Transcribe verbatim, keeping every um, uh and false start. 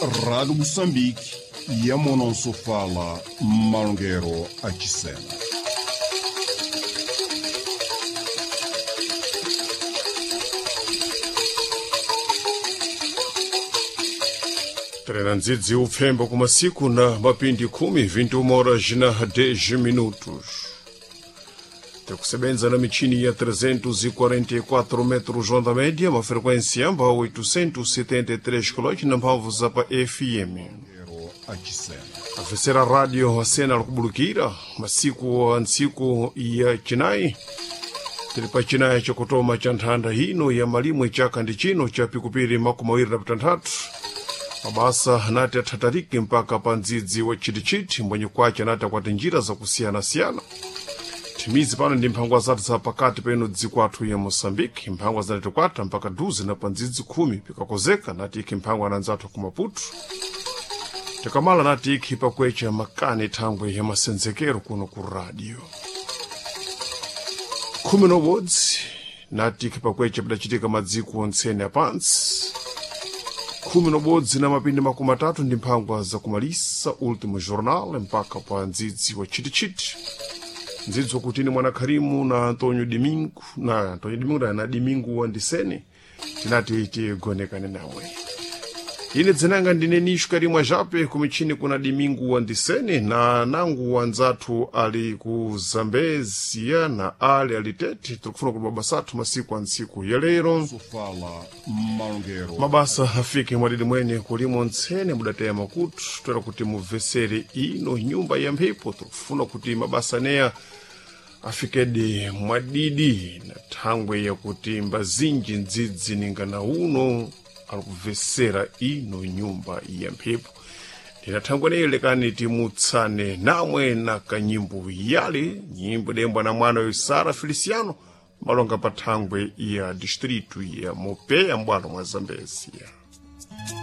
Rádio Moçambique, Yamonansofala, Malongero Achisena. Trena ndzidzi upfembo kumasiku na mapindi khumi vinte e uma horas na dez minutos. Tikusebenza na michini ya trezentos e quarenta e quatro metros onda média, uma frequência amba oitocentos e setenta e três quilômetros na mphamvu za pa F M. A terceira rádio a cena kubulukira masiku a ntsiku ya Chinai. Tili pa Chinai chakutoma cha nthanda hino ya malimwe chaka ndi chino cha pikupiri makumi awiri na pitanthatu. Mabasa anati athatarike mpaka pa ndzidzi wa chitichiti mbwenye kwace anati akwati njira zakusiyana-siyana. Thimizi pano ndi mphangwa zathu za pakati peno dziko athu ya Moçambique, mphangwa zinatikwata mpaka duze na pa ndzidzi khumi pikakozeka nati ikhi mphangwa na nzathu ku Maputo. Tikamala nati ikhi pakwecha makani thangwe ya masenzekero kuno ku radio. Khumi nobodzi nati ikhi pakwecha pidachitika madziko ontsene apantsi. Khumi nobodzi na mapindi makumi atatu ndi mphangwa zakumalisa último jornal mpaka pa ndzidzi wa chitichiti. Ndzidzi wakutini mwana Kharimu na Antonio Domingo na Antonio Domingo na Domingo Wandisene tinati tigonekane nawe. Ine dzinanga ndine Nisho Karimwa Jape kumichini kuna Domingo Wandisene na nangu wanzathu ali ku Zambezia na ali alitete tikufuna kuti mabasa athu masiku a ntsiku ya lero. Sofala, Malongero. Mabasa afike mwadidi mwene kulimo ntsene mudateya makutu toera kuti mubvesere ino nyumba ya mphepo tikufuna kuti mabasa neya afikedi mwadidi na thangwe yakuti mbazinji ndzidzi ningana uno alikubvesera ino nyumba ya mphepo. Ndinathangwe neyo lekani timutsane namwe na kanyimbo yale nyimbo dembwa na mwana yo Sara Feliciano malonga pa thangwe ya distrito ya Mopeya mbwalo mwa Zambezia.